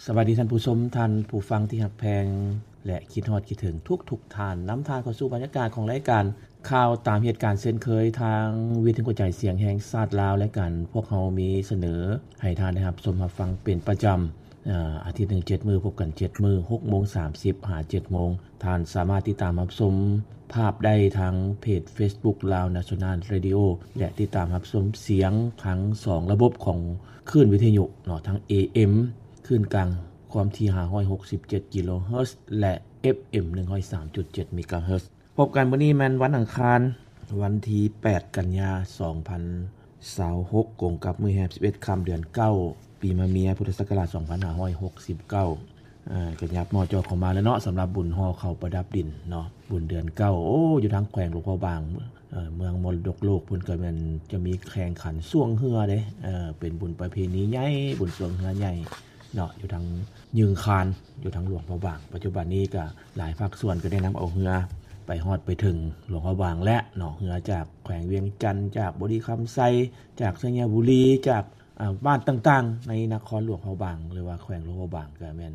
ສະບາຍດີທ່ານຜູ້ຊົມ, ທ່ານຜູ້ຟັງທີ່ຮັກແພງ ແລະ ຄິດຮອດຄິດເຖິງທຸກໆທ່ານ. ນຳທ່ານເຂົ້າສູ່ບັນຍາກາດຂອງລາຍການຂ່າວຕາມເຫດການເຊັ່ນເຄີຍ ທາງວິທຍຸກະຈາຍສຽງແຫ່ງຊາດລາວ ລາຍການພວກເຮົາມີສະເໜີໃຫ້ທ່ານໄດ້ຮັບຊົມຮັບຟັງເປັນປະຈຳ ອາ ອາທິດໜຶ່ງເຈັດມື້, ພົບກັນເຈັດມື້, ຫົກໂມງສາມສິບຫາເຈັດໂມງ. ທ່ານສາມາດຕິດຕາມຮັບຊົມພາບໄດ້ທາງເພຈເຟສບຸກ Lao National Radio ແລະ ຕິດຕາມຮັບຊົມສຽງທັງສອງລະບົບຂອງ ຄື້ນວິທະຍຸເນາະ ທັງ ເອເອັມ ຄື້ນກາງຄວາມຖີ່ຫ້າຮ້ອຍຫົກສິບເຈັດກິໂລເຮີດ ແລະ ເອັຟເອັມໜຶ່ງຮ້ອຍສາມຈຸດເຈັດເມກາເຮີດ. ພົບກັນມື້ນີ້ແມ່ນວັນອັງຄານ ວັນທີແປດ ກັນຍາ ສອງພັນຊາວຫົກ ກົງກັບມື້ແຮມສິບເອັດຄ່ຳ ເດືອນເກົ້າ ປີມະເມຍ ພຸດທະສັກກະລາດສອງພັນຫ້າຮ້ອຍຫົກສິບເກົ້າ. ເອີ ກໍຫຍັບໝໍ້ເຈາະເຂົ້າມາແລ້ວເນາະ ສຳລັບບຸນຫໍ່ເຂົ້າປະດັບດິນເນາະ ບຸນເດືອນເກົ້າ. ໂອ້ ຢູ່ທາງແຂວງຫຼວງພະບາງ ເອີ ເມືອງມໍລະດົກໂລກພຸ້ນ ກໍແມ່ນຈະມີແຂ່ງຂັນຊ່ວງເຮືອເດ້. ເອີ ເປັນບຸນປະເພນີໃຫຍ່ ບຸນຊ່ວງເຮືອໃຫຍ່ເນາະ ຢູ່ທາງຍືງຄານ ຢູ່ທາງຫຼວງພະບາງ. ປັດຈຸບັນນີ້ກໍຫຼາຍພາກສ່ວນກໍໄດ້ນຳເອົາເຮືອໄປຮອດໄປເຖິງຫຼວງພະບາງແລ້ວເນາະ ເຮືອຈາກແຂວງວຽງຈັນ ຈາກບໍລິຄຳໄຊ ຈາກໄຊຍະບູລີ ຈາກ ອາ ບ້ານຕ່າງໆໃນນະຄອນຫຼວງພະບາງ ຫຼືວ່າແຂວງຫຼວງພະບາງ ກໍແມ່ນ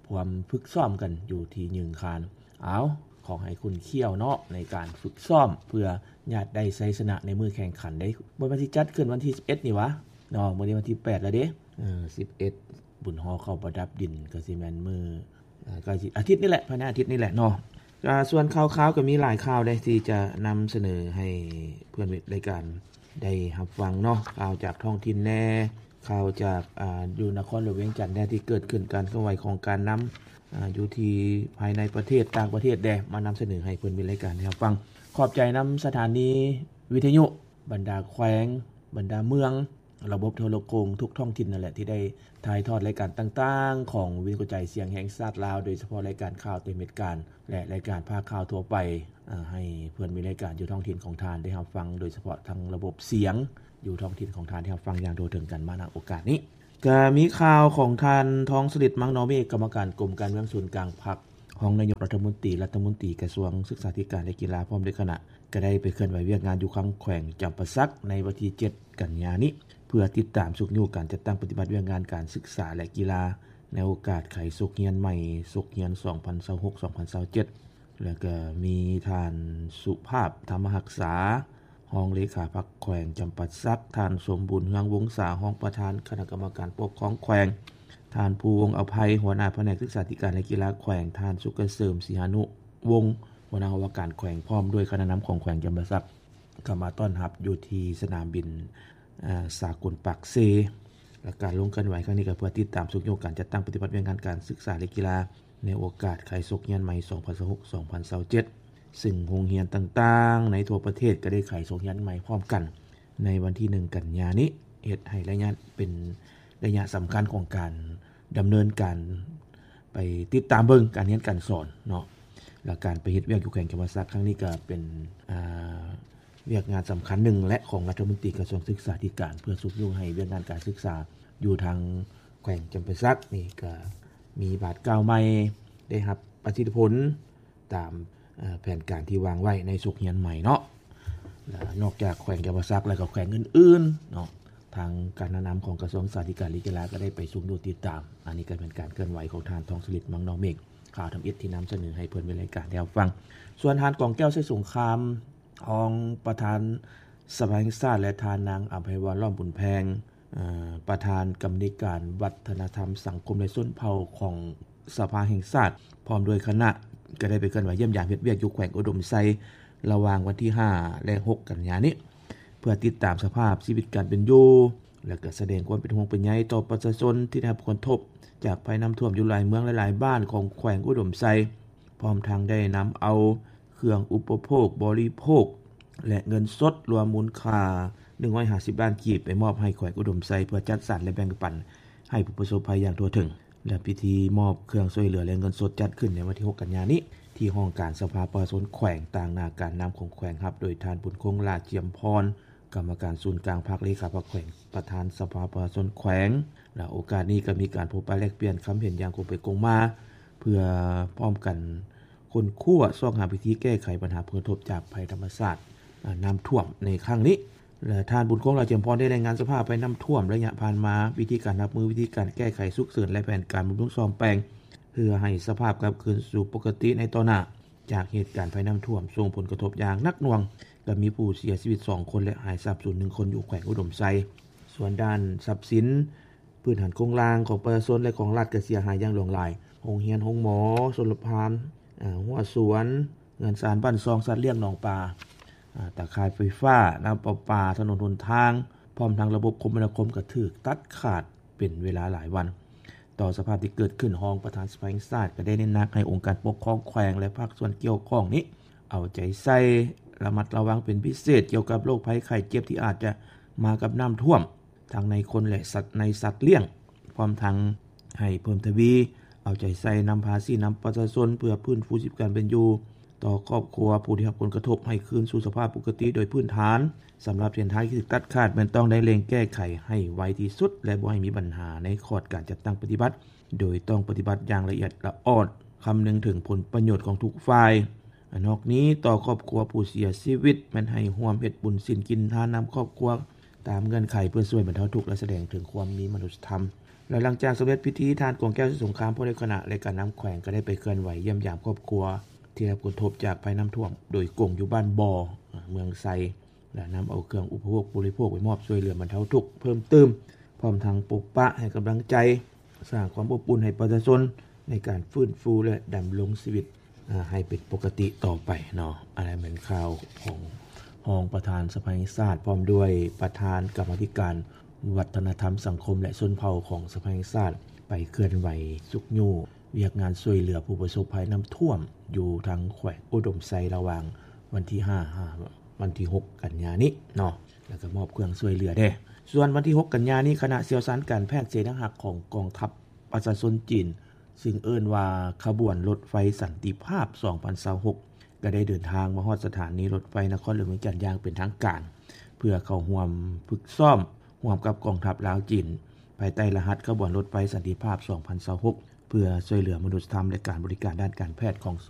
ພວມຝຶກຊ້ອມກັນຢູ່ທີ່ຍືງຄານ. ເອົາ ຂໍໃຫ້ຂຸ້ນຂ້ຽວເນາະ ໃນການຝຶກຊ້ອມເພື່ອຍາດໄດ້ໄຊຊະນະໃນມື້ແຂ່ງຂັນເດ້. ບໍ່ແມ່ນຊິຈັດຂຶ້ນວັນທີສິບເອັດນີ້ຫວາເນາະ ມື້ນີ້ວັນທີແປດແລ້ວເດ້. ເອີ ສິບເອັດ ບຸນຫໍ່ເຂົ້າປະດັບດິນ ກໍຊິແມ່ນມື້ ເອີ ກໍຊິອາທິດນີ້ແຫຼະ ພາຍໃນອາທິດນີ້ແຫຼະເນາະ. ກໍສ່ວນຂ່າວໆກໍມີຫຼາຍຂ່າວເດ້ ທີ່ຈະນຳສະເໜີໃຫ້ເພື່ອນມິດລາຍການໄດ້ຮັບຟັງເນາະ ຂ່າວຈາກທ້ອງຖິ່ນແດ່ ຂ່າວຈາກ ອາ ຢູ່ນະຄອນຫຼວງວຽງຈັນແດ່ ທີ່ເກີດຂຶ້ນ ການເຄື່ອນໄຫວຂອງການນຳ ອາ ຢູ່ທີ່ພາຍໃນປະເທດ ຕ່າງປະເທດແດ່ ມານຳສະເໜີໃຫ້ເພື່ອນມິດລາຍການໄດ້ຮັບຟັງ. ຂອບໃຈນຳສະຖານີວິທະຍຸ ບັນດາແຂວງ ບັນດາເມືອງ ລະບົບໂທລະໂຂງທຸກທ້ອງຖິ່ນນັ້ນແຫຼະ ທີ່ໄດ້ຖ່າຍທອດລາຍການຕ່າງໆຂອງວິທະຍຸກະຈາຍສຽງແຫ່ງຊາດລາວ ໂດຍສະເພາະລາຍການຂ່າວຕາມເຫດການ ແລະ ລາຍການພາກຂ່າວທົ່ວໄປ ເອີ ໃຫ້ເພື່ອນມິດລາຍການຢູ່ທ້ອງຖິ່ນຂອງທ່ານໄດ້ຮັບຟັງ ໂດຍສະເພາະທັງລະບົບສຽງຢູ່ທ້ອງຖິ່ນຂອງທ່ານໄດ້ຮັບຟັງຢ່າງທົ່ວເຖິງກັນມາ ນະໂອກາດນີ້. ກະມີຂ່າວຂອງທ່ານ ທອງສະລິດ ມັງນໍເມກ ກຳມະການກົມການເມືອງສູນກາງພັກ ຮອງນາຍົກລັດຖະມົນຕີ ລັດຖະມົນຕີກະຊວງສຶກສາທິການ ແລະ ກິລາ ພ້ອມດ້ວຍຄະນະ ກະໄດ້ໄປເຄື່ອນໄຫວວຽກງານຢູ່ທາງແຂວງຈຳປາສັກ ໃນວັນທີເຈັດ ກັນຍານີ້ ເພື່ອຕິດຕາມຊຸກຍູ້ການຈັດຕັ້ງປະຕິບັດວຽກງານການສຶກສາ ແລະ ກິລາ ໃນໂອກາດໄຂສົກຮຽນໃໝ່ ສົກຮຽນສອງພັນຊາວຫົກ ສອງພັນຊາວເຈັດ. ແລ້ວກໍມີທ່ານ ສຸພາບ ທຳມະຮັກສາ ຮອງເລຂາພັກແຂວງຈຳປາສັກ, ທ່ານ ສົມບູນ ເຮືອງວົງສາ ຮອງປະທານຄະນະກຳມະການປົກຄອງແຂວງ, ທ່ານ ພູວົງ ອະໄພ ຫົວໜ້າພະແນກສຶກສາທິການ ແລະ ກິລາແຂວງ, ທ່ານ ສຸກກະເສີມ ສີຫານຸວົງ ຫົວໜ້າຫ້ອງວ່າການແຂວງ ພ້ອມດ້ວຍຄະນະນຳຂອງແຂວງຈຳປາສັກ ເຂົ້າມາຕ້ອນຮັບຢູ່ທີ່ສະໜາມບິນ ເອີ ສາກົນປາກເຊ. ແລະ ການລົງເຄື່ອນໄຫວຄັ້ງນີ້ກໍເພື່ອຕິດຕາມຊຸກຍູ້ການຈັດຕັ້ງປະຕິບັດວຽກງານການສຶກສາ ແລະ ກິລາ ໃນໂອກາດໄຂສົກຮຽນໃໝ່ ສອງພັນຊາວຫົກ ສອງພັນຊາວເຈັດ ຊຶ່ງໂຮງຮຽນຕ່າງໆໃນທົ່ວປະເທດກໍໄດ້ໄຂສົກຮຽນໃໝ່ພ້ອມກັນໃນວັນທີໜຶ່ງ ກັນຍານີ້ ເຮັດໃຫ້ໄລຍະ ເປັນໄລຍະສຳຄັນຂອງການດຳເນີນການ ໄປຕິດຕາມເບິ່ງການຮຽນການສອນເນາະ ແລະ ການໄປເຮັດວຽກຢູ່ແຂວງຈຳປາສັກຄັ້ງນີ້ ກໍເປັນ ອາ ວຽກງານສຳຄັນໜຶ່ງແຫຼະ ຂອງລັດຖະມົນຕີກະຊວງສຶກສາທິການ ເພື່ອຊຸກຍູ້ໃຫ້ວຽກງານການສຶກສາຢູ່ທາງແຂວງຈຳປາສັກນີ້ ກໍມີບາດກ້າວໃໝ່ ໄດ້ຮັບປະສິດທິຜົນຕາມ ເອີ ແຜນການທີ່ວາງໄວ້ໃນສົກຮຽນໃໝ່ເນາະ. ແລະ ນອກຈາກແຂວງຈຳປາສັກແລ້ວ ກໍແຂວງອື່ນໆເນາະ ທາງການນຳຂອງກະຊວງສຶກສາທິການ ແລະ ກິລາ ກໍໄດ້ໄປຊຸກຍູ້ຕິດຕາມ. ອັນນີ້ກໍເປັນການເຄື່ອນໄຫວຂອງທ່ານ ທອງສະລິດ ມັງນໍເມກ ຂ່າວທຳອິດທີ່ນຳສະເໜີໃຫ້ເພື່ອນມິດລາຍການໄດ້ຮັບຟັງ. ສ່ວນທ່ານ ກອງແກ້ວ ໄຊສົງຄາມ ຮອງປະທານສະພາແຫ່ງຊາດ ແລະ ທ່ານນາງ ອຳໄພວອນ ລ້ອມບຸນແພງ ເອີ ປະທານກຳມະທິການວັດທະນະທຳ ສັງຄົມ ແລະ ຊົນເຜົ່າຂອງສະພາແຫ່ງຊາດ ພ້ອມດ້ວຍຄະນະ ກໍໄດ້ໄປເຄື່ອນໄຫວຢ້ຽມຢາມເຮັດວຽກຢູ່ແຂວງອຸດົມໄຊ ລະຫວ່າງວັນທີຫ້າ ແລະ ຫົກ ກັນຍານີ້ ເພື່ອຕິດຕາມສະພາບຊີວິດການເປັນຢູ່ ແລະ ກໍສະແດງຄວາມເປັນຫ່ວງເປັນໃຍຕໍ່ປະຊາຊົນທີ່ໄດ້ຮັບຜົນກະທົບຈາກໄພນ້ຳຖ້ວມຢູ່ຫຼາຍເມືອງ ແລະ ຫຼາຍບ້ານຂອງແຂວງອຸດົມໄຊ, ພ້ອມທັງໄດ້ນຳເອົາເຄື່ອງອຸປະໂພກບໍລິໂພກ ແລະ ເງິນສົດລວມມູນຄ່າໜຶ່ງຮ້ອຍຫ້າສິບລ້ານກີບ ໄປມອບໃຫ້ແຂວງອຸດົມໄຊ ເພື່ອຈັດສັນ ແລະ ແບ່ງປັນໃຫ້ຜູ້ປະສົບໄພຢ່າງທົ່ວເຖິງ. ແລະ ພິທີມອບເຄື່ອງຊ່ວຍເຫຼືອ ແລະ ເງິນສົດຈັດຂຶ້ນໃນວັນທີຫົກ ກັນຍານີ້ ທີ່ຫ້ອງການສະພາປະຊາຊົນແຂວງ, ຕາງໜ້າການນຳຂອງແຂວງ ຮັບໂດຍທ່ານ ບຸນຄົງ ຫຼ້າຈຽມພອນ ກຳມະການສູນກາງພັກ, ເລຂາພັກແຂວງ, ປະທານສະພາປະຊາຊົນແຂວງ. ແລະ ໂອກາດນີ້ກໍມີການພົບປະແລກປ່ຽນຄຳເຫັນຢ່າງກົງໄປກົງມາ ເພື່ອພ້ອມກັນຄົ້ນຄວ້າຊອກຫາວິທີແກ້ໄຂບັນຫາຜົນກະທົບຈາກໄພທຳມະຊາດ ອາ ນ້ຳຖ້ວມໃນຄັ້ງນີ້. ແລະ ທ່ານ ບຸນຄົງ ຫຼ້າຈຳພອນ ໄດ້ລາຍງານສະພາບໄພນ້ຳຖ້ວມໄລຍະຜ່ານມາ, ວິທີການຮັບມື, ວິທີການແກ້ໄຂສຸກເສີນ ແລະ ແຜນການບຳລຸງສ້ອມແປງ ເພື່ອໃຫ້ສະພາບກັບຄືນສູ່ປົກກະຕິໃນຕໍ່ໜ້າ. ຈາກເຫດການໄພນ້ຳຖ້ວມສົ່ງຜົນກະທົບຢ່າງໜັກໜ່ວງ, ກໍມີຜູ້ເສຍຊີວິດສອງຄົນ ແລະ ຫາຍສາບສູນໜຶ່ງຄົນ ຢູ່ແຂວງອຸດົມໄຊ. ສ່ວນດ້ານຊັບສິນພື້ນຖານໂຄງລ່າງຂອງປະຊາຊົນ ແລະ ຂອງລັດ ກໍເສຍຫາຍຢ່າງຫຼວງຫຼາຍ, ໂຮງຮຽນ, ໂຮງໝໍ, ຊົນລະປະທານ, ຫົວສວນ, ເຮືອນຊານ, ບ້ານຊ່ອງ, ສັດລ້ຽງ, ໜອງປາ, ຕາຂ່າຍໄຟຟ້າ, ນ້ຳປະປາ, ຖະໜົນຫົນທາງ, ພ້ອມທັງລະບົບຄົມມະນາຄົມກໍຖືກຕັດຂາດເປັນເວລາຫຼາຍວັນ. ຕໍ່ສະພາບທີ່ເກີດຂຶ້ນ, ຮອງປະທານສະພາແຫ່ງຊາດກໍໄດ້ເນັ້ນໜັກໃຫ້ອົງການປົກຄອງແຂວງ ແລະ ພາກສ່ວນກ່ຽວຂ້ອງນີ້ ເອົາໃຈໃສ່, ລະມັດລະວັງເປັນພິເສດ ກ່ຽວກັບໂລກໄພໄຂ້ເຈັບທີ່ອາດຈະມາກັບນ້ຳຖ້ວມ ທັງໃນຄົນ ແລະ ສັດ ໃນສັດລ້ຽງ, ພ້ອມທັງໃຫ້ເພີ່ມທະວີເອົາໃຈໃສ່ນຳພາຊີ້ນຳປະຊາຊົນ ເພື່ອຟື້ນຟູຊີວິດການເປັນຢູ່ຕໍ່ຄອບຄົວຜູ້ທີ່ຮັບຜົນກະທົບໃຫ້ຄືນສູ່ສະພາບປົກກະຕິໂດຍພື້ນຖານ. ສຳລັບເສັ້ນທາງທີ່ຖືກຕັດຂາດ ແມ່ນຕ້ອງໄດ້ເລັ່ງແກ້ໄຂໃຫ້ໄວທີ່ສຸດ ແລະ ບໍ່ໃຫ້ມີບັນຫາໃນຂອດການຈັດຕັ້ງປະຕິບັດ, ໂດຍຕ້ອງປະຕິບັດຢ່າງລະອຽດລະອອດ, ຄຳນຶງເຖິງຜົນປະໂຫຍດຂອງທຸກຝ່າຍ. ນອກນີ້, ຕໍ່ຄອບຄົວຜູ້ເສຍຊີວິດ ແມ່ນໃຫ້ຮ່ວມເຮັດບຸນສິນກິນທານນຳຄອບຄົວຕາມເງື່ອນໄຂ ເພື່ອຊ່ວຍບັນເທົາທຸກ ແລະ ສະແດງເຖິງຄວາມມີມະນຸດສະທຳ. ແລະ ຫຼັງຈາກສຳເລັດພິທີ, ທ່ານ ກອງແກ້ວ ສຸສົງຄາມ ຜູ້ນຳຄະນະ ແລະ ການນຳແຂວງ ກໍໄດ້ໄປເຄື່ອນໄຫວຢ້ຽມຢາມຄອບຄົວທີ່ໄດ້ຮັບຜົນກະທົບຈາກໄພນ້ຳຖ້ວມໂດຍກົງຢູ່ບ້ານບໍ່, ເມືອງໄຊ ແລະ ນຳເອົາເຄື່ອງອຸປະໂພກບໍລິໂພກໄປມອບຊ່ວຍເຫຼືອບັນເທົາທຸກເພີ່ມຕື່ມ, ພ້ອມທັງປົກປະໃຫ້ກຳລັງໃຈ, ສ້າງຄວາມອົບອຸ່ນໃຫ້ປະຊາຊົນໃນການຟື້ນຟູ ແລະ ດຳລົງຊີວິດ ອາ ໃຫ້ເປັນປົກກະຕິຕໍ່ໄປເນາະ. ອັນນັ້ນແມ່ນຂ່າວຂອງຮອງປະທານສະພາແຫ່ງຊາດ ພ້ອມດ້ວຍປະທານກຳມາທິການວັດທະນະທຳ, ສັງຄົມ ແລະ ຊົນເຜົ່າຂອງສະພາແຫ່ງຊາດ ໄປເຄື່ອນໄຫວຊຸກຍູ້ວຽກງານຊ່ວຍເຫຼືອຜູ້ປະສົບໄພນ້ຳຖ້ວມຢູ່ທາງແຂວງອຸດົມໄຊ ລະຫວ່າງວັນທີຫ້າ ຫາວັນທີຫົກ ກັນຍານີ້ເນາະ ແລ້ວກໍມອບເຄື່ອງຊ່ວຍເຫຼືອເດ້. ສ່ວນວັນທີຫົກ ກັນຍານີ້ ຄະນະຊ່ຽວຊານການແພດເສນາຮັກຂອງກອງທັບປະຊາຊົນຈີນ ຊຶ່ງເອີ້ນວ່າຂະບວນລົດໄຟສັນຕິພາບສອງພັນຊາວຫົກ ກໍໄດ້ເດີນທາງມາຮອດສະຖານີລົດໄຟນະຄອນຫຼວງວຽງຈັນຢ່າງເປັນທາງການ ເພື່ອເຂົ້າຮ່ວມຝຶກຊ້ອມຮ່ວມກັບກອງທັບລາວ-ຈີນ ພາຍໃຕ້ລະຫັດຂະບວນລົດໄຟສັນຕິພາບສອງພັນຊາວຫົກ ເພື່ອຊ່ວຍເຫຼືອມະນຸດສະທຳ ແລະ ການບໍລິການດ້ານການແພດຂອງສ